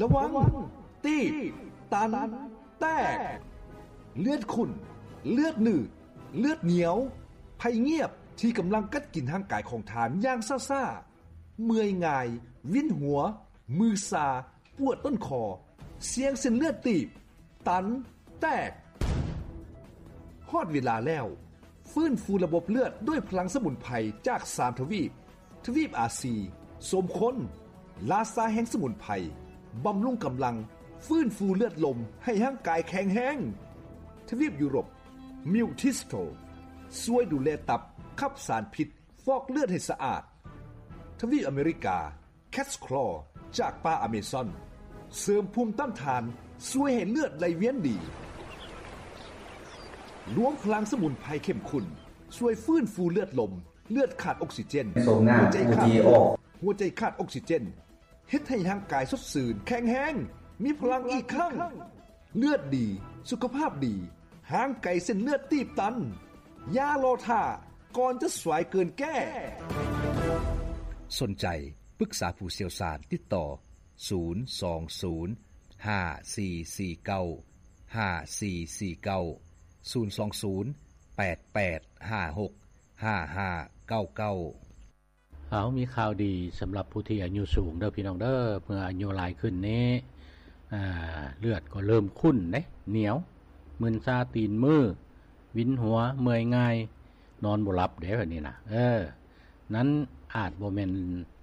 ລະວັງ ຕີບ ຕັນ ແຕກ. ເລືອດຂຸ້ນ, ເລືອດໜືດ, ເລືອດໜຽວ, ໄພງຽບທີ່ກຳລັງກັດກິນຮ່າງກາຍຂອງທ່ານຢ່າງຊ້າໆ, ເມື່ອຍງ່າຍ, ວິນຫົວ, ມືຊາ, ປວດຕົ້ນຄໍ, ສ່ຽງເສັ້ນເລືອດຕີບ, ຕັນ, ແຕກ. ຮອດເວລາແລ້ວ, ຟື້ນຟູລະບົບເລືອດດ້ວຍພະລັງສະໝຸນໄພຈາກສາມທະວີບ, ທະວີບອາຊີ, ສົມຄົນ, ລາຊາແຫ່ງສະໝຸນໄພ, ບຳລຸງກຳລັງ, ຟື້ນຟູເລືອດລົມໃຫ້ຮ່າງກາຍແຂງແຮງ. ທະວີບຢູໂຣບ, ມິວທິສໂຕ, ຊ່ວຍດູແລຕັບ, ຂັບສານພິດ, ຟອກເລືອດໃຫ້ສະອາດ. ທະວີບອາເມລິກາ, ແຄດສະຄລໍຈາກປ່າອາເມຊອນ ເສີມພູມຕ້ານທານ, ຊ່ວຍໃຫ້ເລືອດໄຫຼວຽນດີ. ລວມພະລັງສະໝຸນໄພເຂັ້ມຂຸ້ນ ຊ່ວຍຟື້ນຟູເລືອດລົມ, ເລືອດຂາດອົກຊີເຈນ, ຫົວໃຈຂາດ, ຫົວໃຈຂາດອົກຊີເຈນ, ເຮັດໃຫ້ຮ່າງກາຍສົດຊື່ນ, ແຂງແຮງ, ມີພະລັງອີກຄັ້ງ. ເລືອດດີ, ສຸຂະພາບດີ, ຫ່າງໄກເສັ້ນເລືອດຕີບຕັນ. ຢ່າລໍຖ້າ, ກ່ອນຈະສວຍເກີນແກ້. ສົນໃຈປຶກສາຜູ້ຊ່ຽວຊານ, ຕິດຕໍ່ ສູນສອງສູນ ຫ້າສີ່ສີ່ເກົ້າ ຫ້າສີ່ສີ່ເກົ້າ, ສູນສອງສູນ ແປດແປດຫ້າຫົກ ຫ້າຫ້າເກົ້າເກົ້າ. ເຮົາມີຂ່າວດີສຳລັບຜູ້ທີ່ອາຍຸສູງເດີພີ່ນ້ອງເດີ. ເມື່ອອາຍຸຫຼາຍຂຶ້ນນີ້ ອາ ເລືອດກໍເລີ່ມຂຸ້ນເດ້, ໜຽວ, ມຶນຊາຕີນມື, ວິນຫົວ, ເມື່ອຍງ່າຍ, ນອນບໍ່ຫຼັບເດ້ ແບບນີ້ນະ. ເອີ ນັ້ນອາດບໍ່ແມ່ນ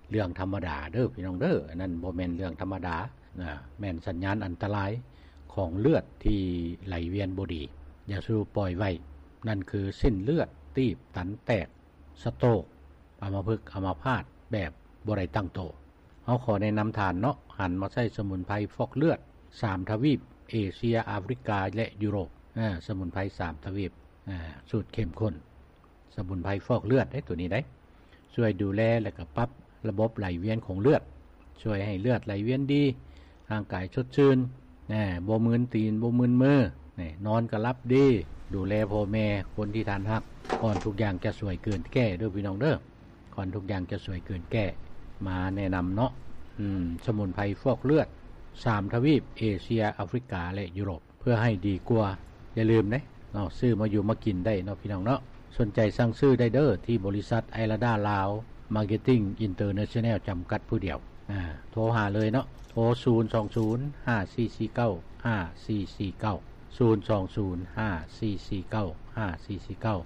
ເລື່ອງທຳມະດາເດີພີ່ນ້ອງເດີ. ອັນນັ້ນບໍ່ແມ່ນເລື່ອງທຳມະດານະ, ແມ່ນສັນຍານອັນຕະລາຍຂອງເລືອດທີ່ໄຫຼວຽນບໍ່ດີ. ຢ່າສູ່ປ່ອຍໄວ້. ນັ້ນຄືເສັ້ນເລືອດຕີບ, ຕັນ, ແຕກ, ສະໂຕກ, ອຳມະພຶກ, ອຳມະພາດແບບບໍ່ໄດ້ຕັ້ງໂຕ. ເຮົາຂໍແນະນຳທ່ານເນາະ, ຫັນມາໃຊ້ສະໝຸນໄພຟອກເລືອດສາມທະວີບ, ເອເຊຍ, ອາຟຣິກາ ແລະ ຢູໂຣບ. ອາ ສະໝຸນໄພສາມທະວີບ, ອາ ສູດເຂັ້ມຂຸ້ນ, ສະໝຸນໄພຟອກເລືອດເດ້ ໂຕນີ້ເດ້. ຊ່ວຍດູແລ ແລະ ກໍປັບລະບົບໄຫຼວຽນຂອງເລືອດ, ຊ່ວຍໃຫ້ເລືອດໄຫຼວຽນດີ, ຮ່າງກາຍສົດຊື່ນ, ແນ່ ບໍ່ມຶນຕີນ, ບໍ່ມຶນມື, ແນ່ ນອນກໍຫຼັບດີ. ດູແລພໍ່ແມ່, ຄົນທີ່ທ່ານຮັກ, ກ່ອນທຸກຢ່າງຈະສວຍເກີນແກ້ເດີພີ່ນ້ອງເດີ. ກ່ອນທຸກຢ່າງຈະສວຍເກີນແກ້, ມາແນະນຳເນາະ. ອືມ ສະໝຸນໄພຟອກເລືອດສາມທະວີບ, ເອເຊຍ, ອາຟຣິກາ ແລະ ຢູໂຣບ, ເພື່ອໃຫ້ດີກວ່າ. ຢ່າລືມເດ້ເນາະ, ຊື້ມາຢູ່ມາກິນໄດ້ເນາະ ພີ່ນ້ອງເນາະ. ສົນໃຈສັ່ງຊື້ໄດ້ເດີ ທີ່ບໍລິສັດໄອລາດາລາວ ມາເກັດຕິງ ອິນເຕີເນຊັນແນວ ຈຳກັດຜູ້ດຽວ. ອາ ໂທຫາເລີຍເນາະ, ໂທ ສູນສອງສູນ ຫ້າສີ່ສີ່ເກົ້າ ຫ້າສີ່ສີ່ເກົ້າ, ສູນສອງສູນ ຫ້າສີ່ສີ່ເກົ້າ ຫ້າສີ່ສີ່ເກົ້າ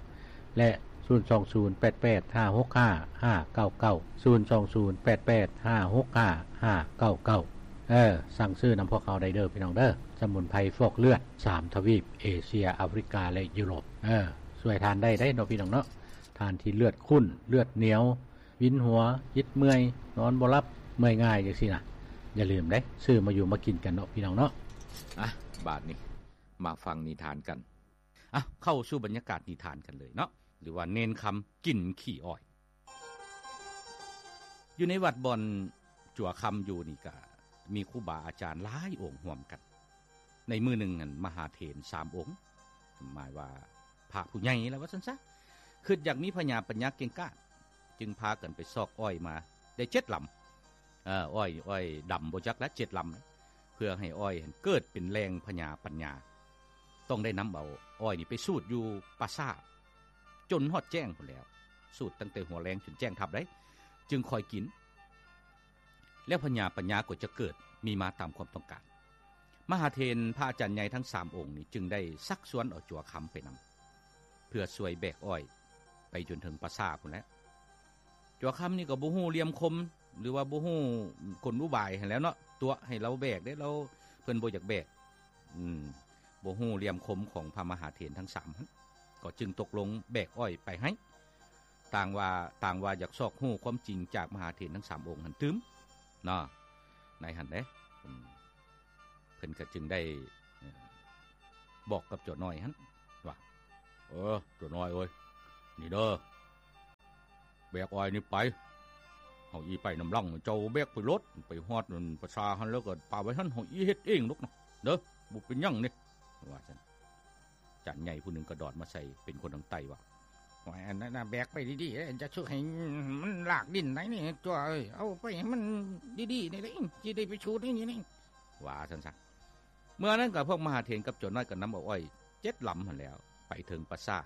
ແລະ ສູນສອງສູນ ແປດແປດຫ້າຫົກຫ້າ ຫ້າເກົ້າເກົ້າ, ສູນສອງສູນ ແປດແປດຫ້າຫົກຫ້າ ຫ້າເກົ້າເກົ້າ. ເອີ ສັ່ງຊື້ນຳພວກເຮົາໄດ້ເດີ ພີ່ນ້ອງເດີ. ສະໝຸນໄພຟອກເລືອດສາມທະວີບ, ເອເຊຍ, ອາຟຣິກາ ແລະ ຢູໂຣບ. ເອີ ຊ່ວຍທ່ານໄດ້ເດ້ເນາະ ພີ່ນ້ອງເນາະ. ທ່ານທີ່ເລືອດຂຸ້ນ, ເລືອດໜຽວ, ວິນຫົວ, ອິດເມື່ອຍ, ນອນບໍ່ຫຼັບ, ເມື່ອຍງ່າຍ ຈັ່ງຊີ້ນະ, ຢ່າລືມເດ້, ຊື້ມາຢູ່ມາກິນກັນເນາະ ພີ່ນ້ອງເນາະ. ອ່ະ ບາດນີ້ມາຟັງນິທານກັນ. ອ່ະ ເຂົ້າສູ່ບັນຍາກາດນິທານກັນເລີຍເນາະ, ຫຼືວ່າເນນຄຳກິນຂີ້ອ້ອຍ. ຢູ່ໃນວັດບ່ອນຈົວຄຳຢູ່ນີ້ກະມີຄູບາອາຈານຫຼາຍອົງຮ່ວມກັນ. ໃນມື້ໜຶ່ງນັ້ນ ມະຫາເຖນສາມອົງ, ໝາຍວ່າພະຜູ້ໃຫຍ່ລະວ່າຊັ້ນຊະ, ຄິດຢາກມີພະຍາປັນຍາເກັ່ງກ້າ, ຈຶ່ງພາກັນໄປຊອກອ້ອຍມາໄດ້ເຈັດລຳ. ເອີ ອ້ອຍ ອ້ອຍດຳບໍ່ຈັກລະ ເຈັດລຳ, ເພື່ອໃຫ້ອ້ອຍຫັ້ນເກີດເປັນແຫຼ່ງພະຍາປັນຍາ, ຕ້ອງໄດ້ນຳເອົາອ້ອຍນີ້ໄປສູດຢູ່ປ່າຊ້າ ຈົນຮອດແຈ້ງພຸ້ນແຫຼ້ວ, ສູດຕັ້ງແຕ່ຫົວແລງຈົນແຈ້ງທັບໄດ໋, ຈຶ່ງຄ່ອຍກິນ, ແລ້ວພະຍາປັນຍາກໍຈະເກີດມີມາຕາມຄວາມຕ້ອງການ. ມະຫາເຖນພະອາຈານໃຫຍ່ທັງສາມອົງນີ້ຈຶ່ງໄດ້ຊັກຊວນເອົາຈົວຄຳໄປນຳ ເພື່ອຊ່ວຍແບກອ້ອຍໄປຈົນເຖິງປ່າຊ້າພຸ້ນແຫຼະ. ຈົວຄຳນີ້ກໍບໍ່ຮູ້ຫຼ່ຽມຄົມ ຫຼືວ່າບໍ່ຮູ້ກົນອຸບາຍຫັ້ນແຫຼ້ວເນາະ, ຕົວະໃຫ້ລາວແບກເດ້, ລາວ ເພິ່ນບໍ່ຢາກແບກ. ອືມ ບໍ່ຮູ້ຫຼ່ຽມຄົມຂອງພະມະຫາເຖນທັງສາມຫັ້ນ, ກໍຈຶ່ງຕົກລົງແບກອ້ອຍໄປໃຫ້. ຕ່າງວ່າ ຕ່າງວ່າຢາກຊອກຮູ້ຄວາມຈິງຈາກມະຫາເຖນທັງສາມອົງຫັ້ນຕື່ມເນາະ, ໃນຫັ້ນເດ້. ອືມ ເພິ່ນກໍຈຶ່ງໄດ້ ເອີ ບອກກັບຕົວນ້ອຍຫັ້ນວ່າ ເອີ ຕົວນ້ອຍເອີຍ, ນີ້ເດີ ແບກອ້ອຍນີ້ໄປ, ເຮົາອີ່ໄປນຳຫຼັງ, ເຈົ້າແບກໄປໂລດ, ໄປຮອດນັ້ນປ່າຊ້າຫັ້ນແລ້ວກໍປະໄວ້ຫັ້ນ, ເຮົາອີ່ເຮັດເອງດອກນະເດີ, ບໍ່ເປັນຫຍັງເດ້ ວ່າຊັ້ນ. ຈັນໃຫຍ່ຜູ້ໜຶ່ງກະດອດມາໃສ່ ເປັນຄົນທາງໃຕ້ວ່າ ໂອ້ຍ ອັນນັ້ນນະ ແບກໄປດີໆ ຈະຊຸກໃຫ້ມັນລາກດິນໄດ໋ນີ້ ຕົວເອີຍ, ເອົາໄປໃຫ້ມັນດີໆ ນີ້ແຫຼະ ຊິໄດ້ໄປຊູດໃນນີ້. ວ່າຊັ້ນຊະ. ເມື່ອນັ້ນກໍພວກມະຫາເຖນກັບຈົວນ້ອຍກໍນຳເອົາອ້ອຍເຈັດລຳຫັ້ນແຫຼ້ວ ໄປເຖິງປ່າຊ້າ.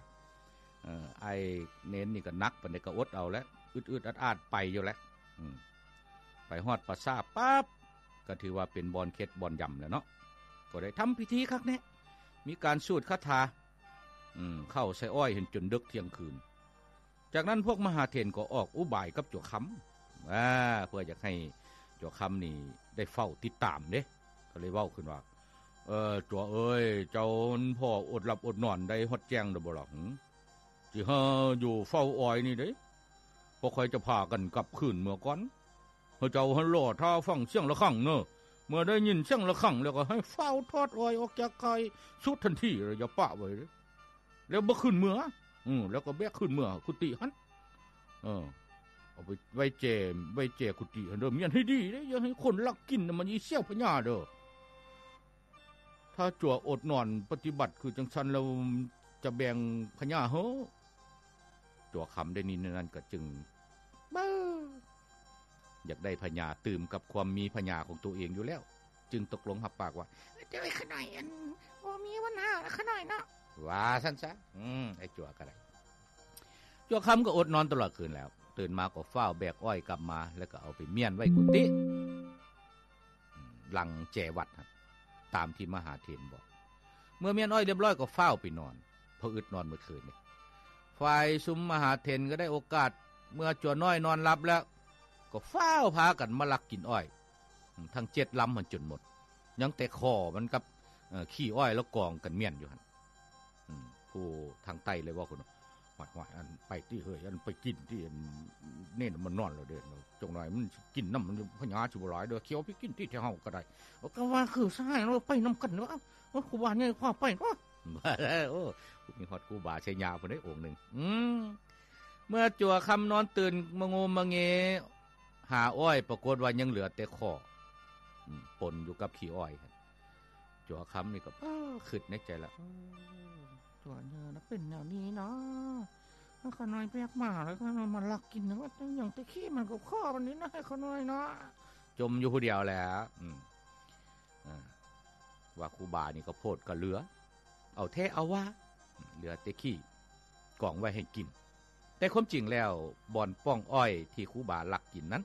ເອີ ອ້າຍເນນນີ້ກໍໜັກປານໃດກໍອົດເອົາແຫຼະ ອຶດໆອັດໆໄປຢູ່ແຫຼະ. ອືມ ໄປຮອດປ່າຊ້າປັບ ກໍຖືວ່າເປັນບ່ອນເຄັດບ່ອນຢຳແລ້ວເນາະ. ກໍໄດ້ທຳພິທີຄັກແນ່ ມີການສູດຄາຖາ ອືມ ເຂົ້າໃສ່ອ້ອຍຫັ້ນຈົນເດິກທ່ຽງຄືນ. ຈາກນັ້ນພວກມະຫາເຖນກໍອອກອຸບາຍກັບຈົວຄຳ ອາ ເພື່ອຢາກໃຫ້ຈົວຄຳນີ້ໄດ້ເຝົ້າຕິດຕາມເດ້ ກໍເລີຍເວົ້າຂຶ້ນວ່າ ເອີ ຈົວເອີຍ ເຈົ້າພໍ່ອົດຫຼັບອົດນອນໄດ້ຮອດແຈ້ງແລ້ວບໍ່ລະ? ຫື ຊິຫາຢູ່ເຝົ້າອ້ອຍນີ້ເດ້ ພວກຂ້ອຍຈະພາກັນກັບຄືນເມືອກ່ອນ. ໃຫ້ເຈົ້າຫັ້ນລໍຖ້າຟັງສຽງລະຄັງເນີ. ເມື່ອໄດ້ຍິນສຽງລະຄັງແລ້ວກໍໃຫ້ຟ້າວຖອດອ້ອຍອອກຈາກຄ້າຍສູດທັນທີ ແລ້ວຢ່າປະໄວ້ເດີ. ແລ້ວບໍ່ຄືນເມືອ ອື ແລ້ວກໍແບກຄືນເມືອກຸຕິຫັ້ນ ເອີ ເອົາໄປໄວ້ແຈ ໄວ້ແຈກຸຕິຫັ້ນເດີ. ມ້ຽນໃຫ້ດີເດ້ ຢ່າໃຫ້ຄົນລັກກິນນະ ມັນຊິສ່ຽວພະຍາເດີ. ຖ້າຈົວອົດນອນປະຕິບັດຄືຈັ່ງຊັ້ນແລ້ວ ຈະແບ່ງພະຍາເຮີ. ຈົວຄຳໄດ້ຍິນແນວນັ້ນກໍຈຶ່ງ ເບິ່ງ ຢາກໄດ້ພະຍາຕື່ມກັບຄວາມມີພະຍາຂອງໂຕເອງຢູ່ແລ້ວ ຈຶ່ງຕົກລົງຮັບປາກວ່າ ເຈົ້າເອີຍ ຂ້ານ້ອຍ ອັນ ບໍ່ມີບັນຫາ ຂ້ານ້ອຍເນາະ ວ່າຊັ້ນຊະ. ອືມ ໄອ້ຈົວກໍໄດ້ ຈົວຄຳກໍອົດນອນຕະຫຼອດຄືນແລ້ວ ຕື່ນມາກໍຟ້າວແບກອ້ອຍກັບມາ ແລ້ວກໍເອົາໄປມ້ຽນໄວ້ກຸຕິ ອືມ ຫຼັງແຈວັດຫັ້ນ ຕາມທີ່ມະຫາເຖນບອກ. ເມື່ອມ້ຽນອ້ອຍລຽບຮ້ອຍກໍຟ້າວໄປນອນ ເພາະອຶດນອນໝົດຄືນເດ້. ຝ່າຍຊຸມມະຫາເຖນກໍໄດ້ໂອກາດ ເມື່ອຈົວນ້ອຍນອນຫຼັບແລ້ວ ກໍຟ້າວພາກັນມາລັກກິນອ້ອຍ ທັງເຈັດລຳຫັ້ນຈົນໝົດ ຍັງແຕ່ຄໍມັນກັບ ເອີ ຂີ້ອ້ອຍລະກອງກັນມ້ຽນຢູ່ຫັ້ນ. ອືມ ຜູ້ທາງໃຕ້ເລີຍເວົ້າຂຶ້ນວ່າ ຫ້ວຍໆ ອັນ ໄປຕິເຮີ້ຍ ອັນ ໄປກິນຕິ ອັນ ເນນມັນນອນແລ້ວເດ້ ຈັກໜ້ອຍມັນຊິກິນນຳ ພະຍາຊິບໍ່ຫຼາຍເດີ ຂຽວໄປກິນຕິ ແຖວເຮົາກໍໄດ້. ກໍວ່າຄືຊະ ໃຫ້ເຮົາໄປນຳກັນເນາະ ໂອ້ ຄູບາໃຫຍ່ພາໄປເນາະ ວ່າແລ້ວ. ໂອ້ ມີຮອດຄູບາໄຊຍາພຸ້ນເດ້ ອົງໜຶ່ງ. ອືມ ເມື່ອຈົວຄຳນອນຕື່ນມະໂງມະເງຫາອ້ອຍ ປາກົດວ່າຍັງເຫຼືອແຕ່ຄໍ ອືມ ປົນຢູ່ກັບຂີ້ອ້ອຍ. ຈົວຄຳນີ້ກໍ ເອີ ຄິດໃນໃຈລະ ເອີ ຕົວເນີນະເປັນແນວນີ້ເນາະ ຂ້ານ້ອຍແບກມາແລ້ວ ຂ້ານ້ອຍມາລັກກິນ ວ່າຫຍັງແຕ່ຂີ້ມັນກໍຄໍມັນນີ້ນະ ຂ້ານ້ອຍເນາະ ຈົ່ມຢູ່ຜູ້ດຽວແຫຼະ. ອືມ ອ່າ ວ່າຄູບານີ້ກໍໂພດກໍເຫຼືອ ເອົາແທ້ເອົາວ່າ ເຫຼືອແຕ່ຂີ້ກອງໄວ້ໃຫ້ກິນ. ແຕ່ຄວາມຈິງແລ້ວ ບ່ອນປ່ອງອ້ອຍທີ່ຄູບາລັກກິນນັ້ນ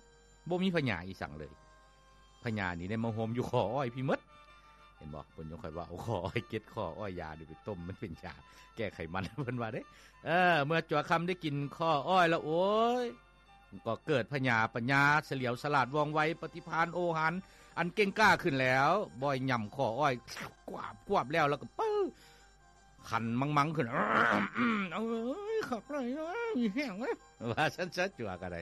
ບໍ່ມີພະຍາອີ່ສັງເລີຍ ພະຍານີ້ໄດ້ມາໂຮມຢູ່ຄໍອ້ອຍພີ້ໝົດ. ເຫັນບໍ່ ເພິ່ນຍັງຄ່ອຍວ່າເອົາຄໍອ້ອຍ ເກັດຄໍອ້ອຍ ຢານີ້ໄປຕົ້ມມັນເປັນຢາແກ້ໄຂມັນ ເພິ່ນວ່າເດ້. ເອີ ເມື່ອຈົວຄຳໄດ້ກິນຄໍອ້ອຍແລ້ວ ໂອ້ຍ ກໍເກີດພະຍາປັນຍາສະຫຼຽວສະຫຼາດວ່ອງໄວ ປະຕິພານໂອຫານອັນເກັ່ງກ້າຂຶ້ນແລ້ວ ບ່ອຍຫຍ້ຳຄໍອ້ອຍ ກວາບໆ ແລ້ວ ແລ້ວກໍປຶ້ ຄັນມັງໆ ຂຶ້ນ ເອີຍ ຄັກຫຼາຍເອີຍ ມີແຮງເອີຍ ວ່າຊັ້ນຊະ. ຈົວກໍໄດ້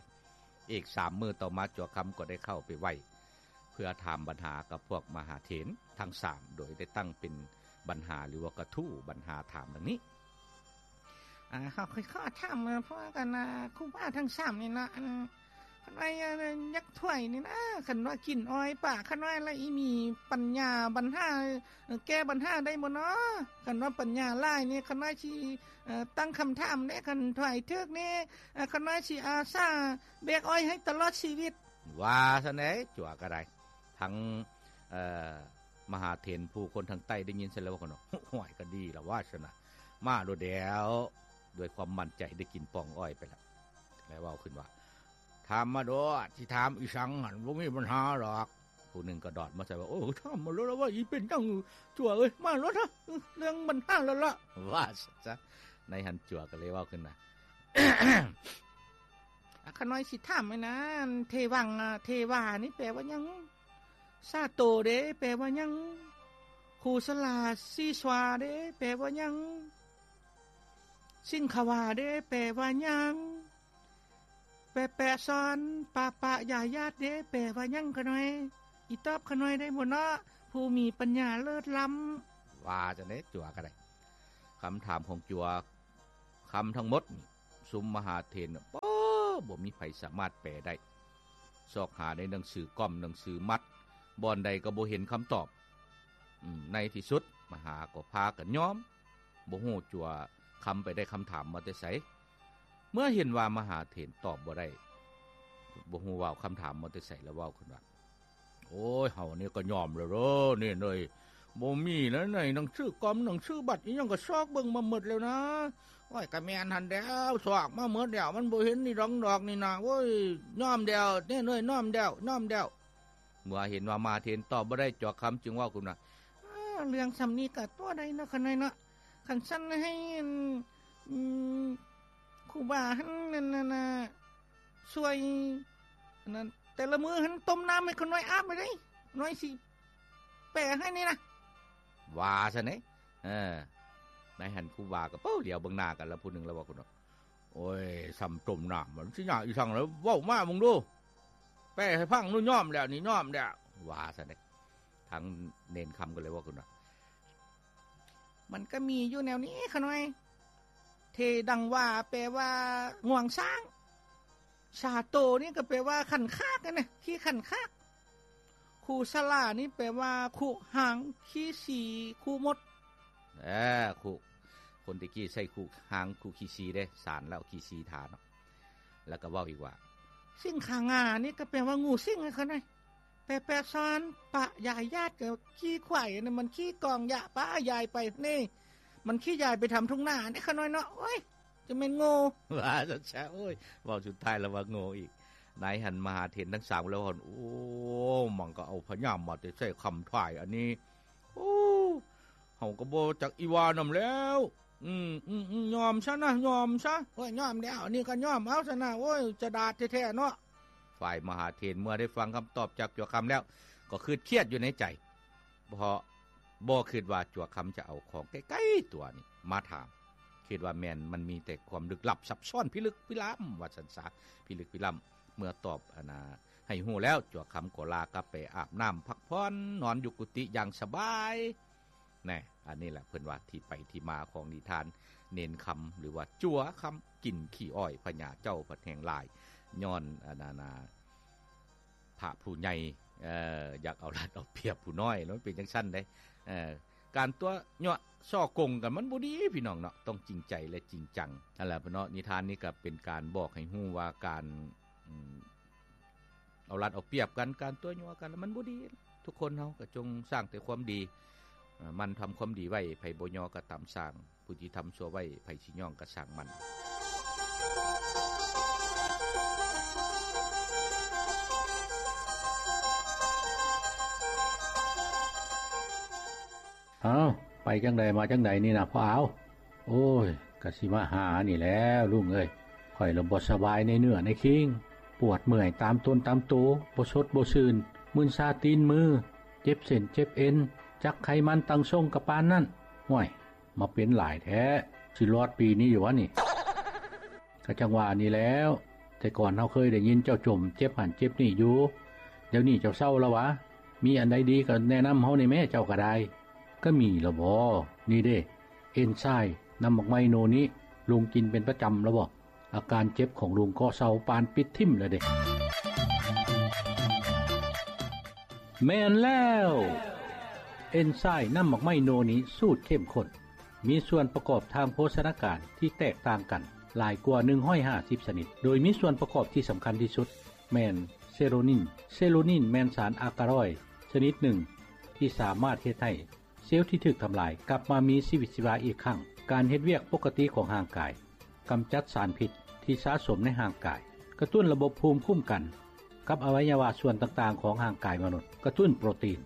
ອີກສາມມື້ຕໍ່ມາ ຈົວຄຳກໍໄດ້ເຂົ້າໄປໄຫວ້ ເພື່ອຖາມບັນຫາກັບພວກມະຫາເຖນທັງສາມ ໂດຍໄດ້ຕັ້ງເປັນບັນຫາ ຫຼືວ່າກະທູ້ບັນຫາຖາມດັ່ງນີ້. ອ່າ ເຮົາຂ້ອຍຂໍຖາມພວກກັນນະ ຄູບາທັງສາມນີ້ນະ ອັນ ຄັນວ່າຢາກຖວາຍນີ້ນະ ຄັນວ່າກິນອ້ອຍປາ ຄັນວ່າລະອີ່ມີປັນຍາບັນຫາ ແກ້ບັນຫາໄດ້ບໍ່ເນາະ? ຄັນວ່າປັນຍາຫຼາຍນີ້ ຄັນວ່າຊິ ເອີ ຕັ້ງຄຳຖາມເດ້ ຄັນຖວາຍຖືກນີ້ ເອີ ຄັນວ່າຊິອາສາແບກອ້ອຍໃຫ້ຕະຫຼອດຊີວິດ ວ່າຊັ້ນເດ້. ຈົວກໍໄດ້ ທັງ ເອີ ມະຫາເຖນຜູ້ຄົນທາງໃຕ້ໄດ້ຍິນຊັ້ນແລ້ວວ່າ ໂອ້ຍ ກໍດີລະວ່າຊັ້ນນະ ມາໂລດແລ້ວ. ດ້ວຍຄວາມໝັ້ນໃຈໄດ້ກິນປ່ອງອ້ອຍໄປແລ້ວ ແລ້ວເວົ້າຂຶ້ນວ່າ ຖາມມາໂລດ ຊິຖາມອີ່ສັງຫັ້ນ ບໍ່ມີບັນຫາດອກ. ຜູ້ໜຶ່ງກໍດອດມາໃສ່ວ່າ ໂອ້ ຖາມມາໂລດລະວ່າ ອີ່ເປັນຫຍັງຈົວເອີຍ ມາໂລດເນາະ ເລື່ອງບັນຫາລະລະ ວ່າຊັ້ນຊະ. ໃນຫັ້ນຈົວກໍເລີຍເວົ້າຂຶ້ນວ່າ ອາ ຂ້ານ້ອຍຊິຖາມໃຫ້ນະ ເທວັງ ອາ ເທວານີ້ແປວ່າຫຍັງ? ຊາໂຕເດ ແປວ່າຫຍັງ? ຄູສະລາຊີສວາເດ ແປວ່າຫຍັງ? ສິງຄະວາເດ ແປວ່າຫຍັງ? ແປະແປະຊອນ ປະປະຢາຍາດເດ ແປວ່າຫຍັງຂະນ້ອຍ? ອີຕອບຂະນ້ອຍໄດ້ບໍ່ເນາະ ຜູ້ມີປັນຍາເລີດລ້ຳ? ວ່າຈັ່ງໃດ ຈົວກໍໄດ້. ຄຳຖາມຂອງຈົວຄຳທັງໝົດນີ້ ຊຸມມະຫາເຖນ ໂອ້ ບໍ່ມີໃຜສາມາດແປໄດ້. ຊອກຫາໃນໜັງສືກ້ອມ ໜັງສືມັດ ບ່ອນໃດກໍບໍ່ເຫັນຄຳຕອບ. ອືມ ໃນທີ່ສຸດມະຫາກໍພາກັນຍອມ ບໍ່ຮູ້ຈົວຄຳໄປໄດ້ຄຳຖາມມາແຕ່ໃສ. ເມື່ອເຫັນວ່າມະຫາເຖນຕອບບໍ່ໄດ້ ບໍ່ຮູ້ວ່າເອົາຄຳຖາມມາແຕ່ໃສ ແລ້ວເວົ້າຂຶ້ນວ່າ ໂອ ໂອ້ຍ ເຮົານີ້ກໍຍອມແລ້ວເດີ ນີ້ເອີຍ ບໍ່ມີແລ້ວ ໃນໜັງສືກອມ ໜັງສືບັດອີ່ຫຍັງກໍຊອກເບິ່ງມາໝົດແລ້ວນະ. ໂອ້ຍ ກໍແມ່ນຫັ້ນແຫຼ້ວ ຊອກມາໝົດແລ້ວ ມັນບໍ່ເຫັນນີ້ດອງດອກນີ້ນະ. ໂອ້ຍ ຍອມແລ້ວ ນີ້ເອີຍ ຍອມແລ້ວ ຍອມແລ້ວ. ເມື່ອເຫັນວ່າມະຫາເຖນຕອບບໍ່ໄດ້ ຈວກຄຳຈຶ່ງເວົ້າຂຶ້ນວ່າ ເອີ ເລື່ອງສ່ຳນີ້ກໍຕົວໃດເນາະ ຂ້ານ້ອຍເນາະ. ຄັນຊັ້ນໃຫ້ ອັນ ອືມ ຄູບາຫັ້ນ ນັ້ນນະ ຊ່ວຍ ອັນນັ້ນ ແຕ່ລະມື້ຫັ້ນຕົ້ມນ້ຳໃຫ້ຂ້ານ້ອຍອາບໄວ້ເດ້ ນ້ອຍຊິແປໃຫ້ນີ້ນະ ວ່າຊັ້ນເດ້. ເອີ ໃນຫັ້ນຄູບາກໍ ໂອ້ ຫຼຽວເບິ່ງໜ້າກັນລະ ຜູ້ໜຶ່ງລະເວົ້າຂຶ້ນວ່າ ໂອ້ຍ ສ່ຳຕົ້ມນ້ຳ ມັນຊິຍາກອີ່ສັງລະ ເວົ້າມາເບິ່ງດູ ແປໃຫ້ຟັງດູ ຍອມແລ້ວນີ້ ຍອມແລ້ວ ວ່າຊັ້ນເດ້. ທາງເນນຄຳກໍເລີຍເວົ້າຂຶ້ນວ່າ ມັນກໍມີຢູ່ແນວນີ້ຂ້ານ້ອຍ ເທດັງວາ ແປວ່າງວງຊ້າງ, ຊາໂຕນີ້ກໍແປວ່າຂັນຄາກຫັ້ນນະ ຂີ້ຂັນຄາກ, ຄູສະຫຼານີ້ແປວ່າຄຸຫາງຂີ້ສີ ຄູມົດ. ເອີ ຄຸ ຄົນແຕ່ກີ້ໃຊ້ຄຸຫາງ ຄຸຂີ້ສີເດ້ ສານແລ້ວຂີ້ສີທາເນາະ ແລ້ວກໍເວົ້າອີກວ່າ ສິງຂາງານີ້ກໍແປວ່າງູສິງຫັ້ນນະ. ແປ ແປສອນປະຍາຍຢາດ ກໍຂີ້ຄວາຍ ອັນນັ້ນມັນຂີ້ກອງຢາປະຍາຍໄປນີ້ ມັນຂີ້ຍາຍໄປທຳທົ່ງນານີ້ ຂ້ານ້ອຍເນາະ. ໂອ້ຍ ຈະແມ່ນໂງ່ ວ່າຊັ້ນຊະ. ໂອ້ຍ ເວົ້າສຸດທ້າຍລະວ່າໂງ່ອີກ. ໃນຫັ້ນມະຫາເຖນທັງສາມລະວ່າ ໂອ້ ມັນກໍເອົາພະຍາມາແຕ່ໃສ່ຄຳທ້າຍອັນນີ້ ໂອ້ ເຮົາກໍບໍ່ຈັກອີ່ຫວ່ານຳແລ້ວ. ອືມ ອືມ ອືມ ຍອມຊະນະ ຍອມຊະ. ໂອ້ຍ ຍອມແລ້ວ ອັນນີ້ກໍຍອມເອົາຊະນະ. ໂອ້ຍ ຈະດາດແທ້ໆເນາະ. ຝ່າຍມະຫາເຖນເມື່ອໄດ້ຟັງຄຳຕອບຈາກຈົວຄຳແລ້ວ ກໍຄຶດຄຽດຢູ່ໃນໃຈ ເພາະບໍ່ຄິດວ່າຈົວຄຳຈະເອົາຂອງໃກ້ໆຕົວນີ້ມາຖາມ, ຄິດວ່າແມ່ນມັນມີແຕ່ຄວາມລຶກລັບຊັບຊ້ອນພິລຶກພິລຳ ວ່າຊັ້ນສາ ພິລຶກພິລຳ. ເມື່ອຕອບອັນນາໃຫ້ຮູ້ແລ້ວ ຈົວຄຳກໍລາກັບໄປອາບນ້ຳພັກຜ່ອນ ນອນຢູ່ກຸຕິຢ່າງສະບາຍ. ແນ່ ອັນນີ້ແຫຼະເພິ່ນວ່າທີ່ໄປທີ່ມາຂອງນິທານເນນຄຳ ຫຼືວ່າຈົວຄຳກິນຂີ້ອ້ອຍພະຍາເຈົ້າພັດແຮງຫຼາຍ ຍ້ອນອັນນັ້ນນາ ພະຜູ້ໃຫຍ່ ເອີ ຢາກເອົາລັດເອົາປຽບຜູ້ນ້ອຍ ແລ້ວມັນເປັນຈັ່ງຊັ້ນເດ້. ເອີ ການຕົວະຍົວະສໍ້ໂກງກັນມັນບໍ່ດີພີ່ນ້ອງເນາະ ຕ້ອງຈິງໃຈ ແລະ ຈິງຈັງ. ນັ້ນແຫຼະເນາະ ນິທານນີ້ກໍເປັນການບອກໃຫ້ຮູ້ວ່າການ ອືມ ເອົາລັດເອົາປຽບກັນ ການຕົວະຍົວະກັນ ມັນບໍ່ດີ. ທຸກຄົນເຮົາກໍຈົ່ງສ້າງແຕ່ຄວາມດີ ເອີ ໝັ່ນທຳຄວາມດີໄວ້ ໃຜບໍ່ຍໍກໍຕາມສ້າງ ຜູ້ທີ່ທຳຊົ່ວໄວ້ ໃຜຊິຍ້ອງກໍຊ່າງມັນ. ອ້າວ ໄປຈັ່ງໃດມາຈັ່ງໃດນີ້ນະພໍ່ອາວ? ໂອ້ຍ ກະຊິມາຫານີ້ແຫຼະລຸງເອີຍ, ຂ້ອຍລະບໍ່ສະບາຍໃນເນື້ອໃນຄີງ, ປວດເມື່ອຍຕາມຕົນຕາມໂຕ, ບໍ່ສົດບໍ່ຊື່ນ, ມຶນຊາຕີນມື, ເຈັບເສັ້ນເຈັບເອັນ, ຈັກໄຂມັນຕັ້ງຊົງກະປານນັ້ນ. ຫ້ວຍ ມາເປັນຫຼາຍແທ້, ຊິລອດປີນີ້ຢູ່ຫວານີ້? ກະຈັ່ງວ່ານີ້ແຫຼ້ວ, ແຕ່ກ່ອນເຮົາເຄີຍໄດ້ຍິນເຈົ້າຈົ່ມເຈັບຫັ້ນເຈັບນີ້ຢູ່, ດຽວນີ້ເຈົ້າເຊົາລະຫວາ? ມີອັນໃດດີກໍແນະນຳເຮົາແດ່ແມ້ ເຈົ້າກໍໄດ້. ກະມີລະບໍ? ນີ້ເດ້ ເອັນຊາຍນ້ຳໝາກໄມ້ໂນນິ ລຸງກິນເປັນປະຈຳລະບໍ? ອາການເຈັບຂອງລຸງກໍເຊົາປານປິດຖິ້ມລະເດ້. ແມ່ນແລ້ວ ເອັນຊາຍນ້ຳໝາກໄມ້ໂນນິສູດເຂັ້ມຂຸ້ນ ມີສ່ວນປະກອບທາງໂພຊະນາການທີ່ແຕກຕ່າງກັນຫຼາຍກວ່າໜຶ່ງຮ້ອຍຫ້າສິບຊະນິດ, ໂດຍມີສ່ວນປະກອບທີ່ສຳຄັນທີ່ສຸດແມ່ນເຊໂຣນິນ. ເຊໂຣນິນແມ່ນສານອາກາຣອຍຊະນິດໜຶ່ງທີ່ສາມາດເຮັດໃຫ້ ເຊວທີ່ຖືກທຳລາຍກັບມາມີຊີວິດຊີວາອີກຄັ້ງ, ການເຮັດວຽກປົກກະຕິຂອງຮ່າງກາຍ, ກຳຈັດສານພິດທີ່ສະສົມໃນຮ່າງກາຍ, ກະຕຸ້ນລະບົບພູມຄຸ້ມກັນກັບອະໄວຍະວະສ່ວນຕ່າງໆຂອງຮ່າງກາຍມະນຸດ, ກະຕຸ້ນໂປຣຕີນ,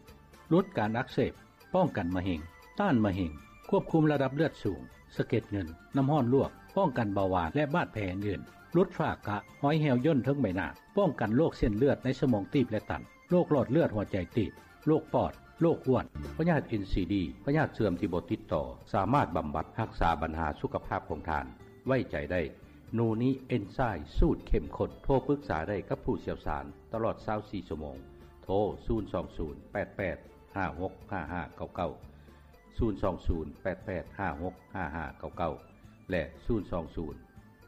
ຫຼຸດການອັກເສບ, ປ້ອງກັນມະເຮັງ, ຕ້ານມະເຮັງ, ຄວບຄຸມລະດັບເລືອດສູງ, ສະເກັດເງິນ, ນ້ຳຮ້ອນລວກ, ປ້ອງກັນເບົາຫວານ ແລະ ບາດແຜອື່ນໆ, ຫຼຸດຝ້າກະ, ຮອຍແຫ້ວຍ່ນເທິງໃບໜ້າ, ປ້ອງກັນໂລກເສັ້ນເລືອດໃນສະໝອງຕີບ ແລະ ຕັນ. ໂລກຫຼອດເລືອດຫົວໃຈຕີບ, ໂລກປອດ, ໂລກອ້ວນ, ພະຍາດເອັນຊີດີ, ພະຍາດເຊື່ອມທີ່ບໍ່ຕິດຕໍ່, ສາມາດບຳບັດຮັກສາບັນຫາສຸຂະພາບຂອງທ່ານ. ໄວ້ໃຈໄດ້ ໂນນິເອັນຊາຍສູດເຂັ້ມຂຸ້ນ. ໂທປຶກສາໄດ້ກັບຜູ້ຊ່ຽວຊານຕະຫຼອດຊາວສີ່ຊົ່ວໂມງ. ໂທ ສູນສອງສູນ ແປດແປດ ຫ້າຫົກ ຫ້າຫ້າເກົ້າເກົ້າ, ສູນສອງສູນ ແປດແປດ ຫ້າຫົກ ຫ້າຫ້າເກົ້າເກົ້າ ແລະ ສູນສອງສູນ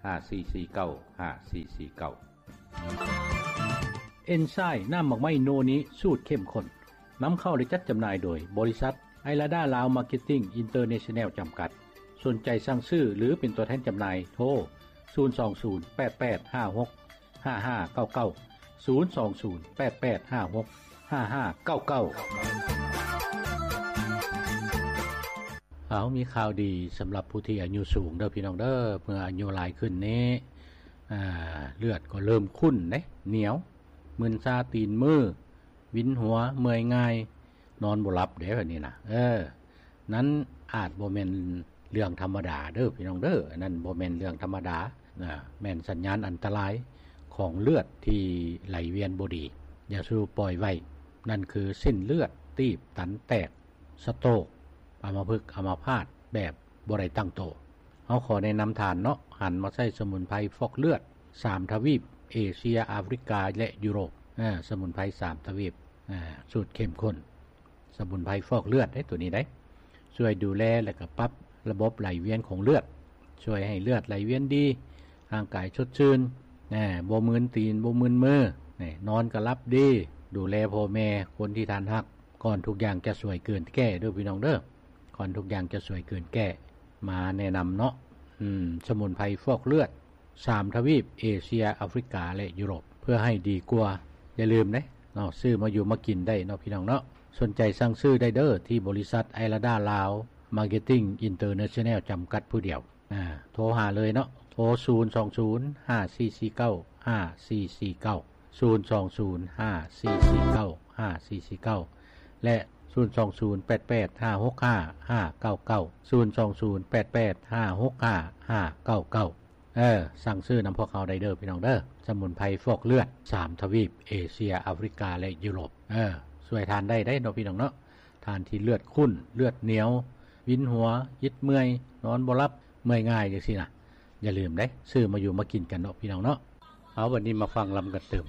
ຫ້າສີ່ສີ່ເກົ້າ ຫ້າສີ່ສີ່ເກົ້າ. ເອັນຊາຍນ້ຳໝາກໄມ້ໂນນິສູດເຂັ້ມຂຸ້ນ ນຳເຂົ້າ ແລະ ຈັດຈຳໜ່າຍໂດຍບໍລິສັດໄອລາດາລາວມາເກັດຕິ້ງອິນເຕີເນຊັນແນວຈຳກັດ. ສົນໃຈສັ່ງຊື້ ຫຼື ເປັນຕົວແທນຈຳໜ່າຍ ໂທ ສູນສອງສູນ ແປດແປດ ຫ້າຫົກ ຫ້າຫ້າເກົ້າເກົ້າ, ສູນສອງສູນ ແປດແປດ ຫ້າຫົກ ຫ້າຫ້າເກົ້າເກົ້າ. ເອົາ ມີຂ່າວດີສຳລັບຜູ້ທີ່ອາຍຸສູງເດີພີ່ນ້ອງເດີ. ເມື່ອອາຍຸຫຼາຍຂຶ້ນນີ້ ອ່າ ເລືອດກໍເລີ່ມຂຸ້ນເດ້ ໜຽວ ມຶນຊາຕີນມື ວິນຫົວ ເມື່ອຍງ່າຍ ນອນບໍ່ຫຼັບເດ້ ແບບນີ້ນະ. ເອີ ນັ້ນອາດບໍ່ແມ່ນເລື່ອງທຳມະດາເດີພີ່ນ້ອງເດີ. ອັນນັ້ນບໍ່ແມ່ນເລື່ອງທຳມະດານະ ແມ່ນສັນຍານອັນຕະລາຍຂອງເລືອດທີ່ໄຫຼວຽນບໍ່ດີ. ຢ່າສູ່ປ່ອຍໄວ້. ນັ້ນຄືເສັ້ນເລືອດຕີບຕັນແຕກ, ສະໂຕກ, ອຳມະພຶກອຳມະພາດແບບບໍ່ໄດ້ຕັ້ງໂຕ. ເຮົາຂໍແນະນຳທ່ານເນາະ ຫັນມາໃຊ້ສະໝຸນໄພຟອກເລືອດສາມທະວີບ ເອເຊຍ, ອາຟຣິກາ ແລະ ຢູໂຣບ. ເອີ ສະໝຸນໄພສາມທະວີບ ສູດເຂັ້ມຂຸ້ນ. ສະໝຸນໄພຟອກເລືອດເດ້ ໂຕນີ້ເດ້ ຊ່ວຍດູແລ ແລະ ກໍປັບລະບົບໄຫຼວຽນຂອງເລືອດ, ຊ່ວຍໃຫ້ເລືອດໄຫຼວຽນດີ, ຮ່າງກາຍສົດຊື່ນ, ແນ່ ບໍ່ມຶນຕີນ ບໍ່ມຶນມື, ແນ່ ນອນກໍຫຼັບດີ, ດູແລພໍ່ແມ່ ຄົນທີ່ທ່ານຮັກ. ກ່ອນທຸກຢ່າງຈະສວຍເກີນແກ້ເດີພີ່ນ້ອງເດີ, ກ່ອນທຸກຢ່າງຈະສວຍເກີນແກ້ ມາແນະນຳເນາະ. ອືມ ສະໝຸນໄພຟອກເລືອດ ສາມທະວີບ ເອເຊຍ, ອາຟຣິກາ ແລະ ຢູໂຣບ ເພື່ອໃຫ້ດີກວ່າ. ຢ່າລືມເດ້ເນາະ ຊື້ມາຢູ່ມາກິນໄດ້ເນາະພີ່ນ້ອງເນາະ. ສົນໃຈສັ່ງຊື້ໄດ້ເດີ ທີ່ບໍລິສັດໄອລາດາລາວ ມາເກັດຕິ້ງ ອິນເຕີເນຊັນແນວ ຈຳກັດຜູ້ດຽວ. ອ່າ ໂທຫາເລີຍເນາະ ໂທ ສູນສອງສູນ ຫ້າສີ່ສີ່ເກົ້າ ຫ້າສີ່ສີ່ເກົ້າ ສູນສອງສູນ ຫ້າສີ່ສີ່ເກົ້າ ຫ້າສີ່ສີ່ເກົ້າ ແລະ ສູນສອງສູນ ແປດແປດຫ້າຫົກຫ້າ ຫ້າເກົ້າເກົ້າ ສູນສອງສູນ ແປດແປດຫ້າຫົກຫ້າ ຫ້າເກົ້າເກົ້າ. ເອີ ສັ່ງຊື້ນຳພວກເຮົາໄດ້ເດີພີ່ນ້ອງເດີ. ສະໝຸນໄພຟອກເລືອດ ສາມທະວີບ ເອເຊຍ, ອາຟຣິກາ ແລະ ຢູໂຣບ. ເອີ ຊ່ວຍທ່ານໄດ້ໄດ໋ເນາະພີ່ນ້ອງເນາະ. ທ່ານທີ່ເລືອດຂຸ້ນ, ເລືອດໜຽວ, ວິນຫົວ, ອິດເມື່ອຍ, ນອນບໍ່ຫຼັບ, ເມື່ອຍງ່າຍຈັ່ງຊີ້ນະ, ຢ່າລືມເດ້ ຊື້ມາຢູ່ມາກິນກັນເນາະພີ່ນ້ອງເນາະ. ເອົາ ບັດນີ້ມາຟັງລຳກັນຕື່ມ.